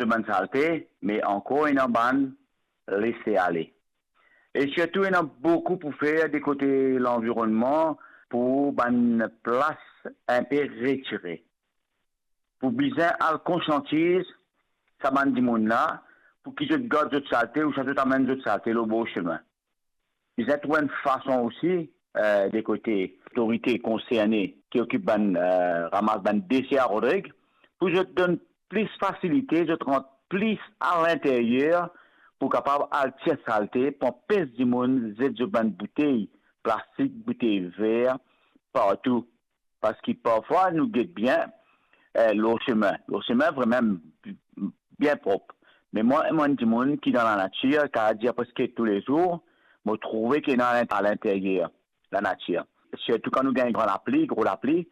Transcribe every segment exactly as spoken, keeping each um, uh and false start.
zot bann salte, me ankor ena bann lese ale. E sirtou ena boukou pou fer de kote lanvironnman pou bann plas inpe retire. Pou bizin al konsiantiz sa bann dimoun la, pou ki zot gard zot salte, ouswa zot amenn zot salte lor bor semin. Bizin trouv enn fason osi, eh, de kote lotorite konserne ki okip bann, eh, ramas bann dese a Rodrig, pou zot donn plis fasilite, zot rant plis alinteryer pou kapav al tir salte, pou anpes dimoun zet zot bann boutey plastik, boutey ver, partou. Parski parfwa nou get bien, eh, lor semin. Lor semin, vremem bien prop. Me mwa, mo enn dimoun ki dan lanatir, kapav dir preske toulezour, mo trouve ki ena alin-, alinteryer lanatir. Sirtou kan nou gagn gran lapli, gro lapli,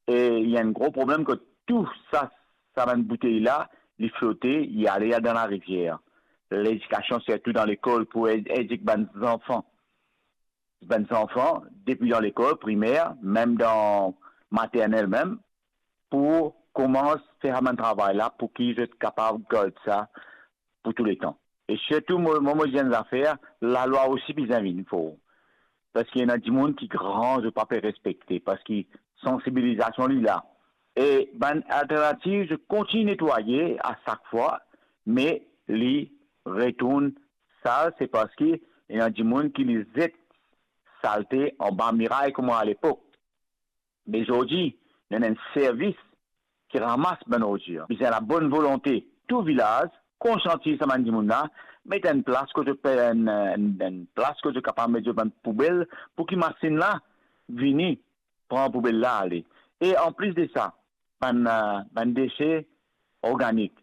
e ena enn gro problem ki tou sa, sa bann boutey la, li flote, li ale dan larivier. Ledikasion, sirtou dan lekol, pou ed-, edik bann zanfan. Bann zanfan, depi dan lekol primer, mem dan maternel mem, pou koumans fer sa bann travay la, pou ki zot kapav gard sa pou tou letan. E sirtou, mo, mo, mo dir enn zafer, lalwa osi bizin vinn for. Parski ena dimoun ki gran, zot pa pe respekte, parski sansibilizasion li la. E bann alternativ, zot kontign netwaye a sak fwa, me li retourn sal, se parski ena dimoun ki li zet salte anba miray kouma alepok. Me zordi, nou ena enn servis ki ramas bann ordir. Bizin labonn volonte tou vilaz, konsiantiz sa bann dimoun la, met enn plas kot zot pe, enn, enn, enn plas kot zot kapav met zot bann poubel, pou ki masinn la vini pran poubel la ale. E anplis de sa, bann, eh, bann dese organik.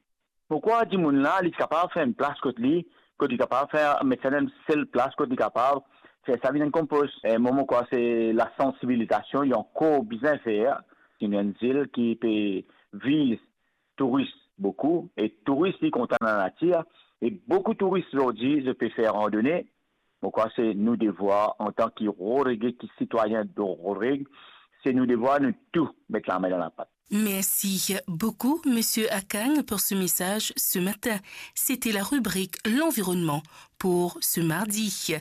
Mo krwar dimoun la, li kapav fer enn plas kot li, kot li kapav fer, met sa dan enn sel plas kot li kapav fer sa vinn enn konpos. E mo, mo krwar se lasansibilizasion, li ankor bizin fer. Se enn zil ki pe viz touris boukou, e touris li kontan lanatir, e boukou touris zordi, zot pe fer randone. Mo krwar se nou devwar, antan ki Rodrig, ki sitwayin de Rodrig, se nou devwar nou tou met lame dan lapat. Merci beaucoup, Monsieur Akang, pour ce message ce matin. C'était la rubrique L'environnement pour ce mardi.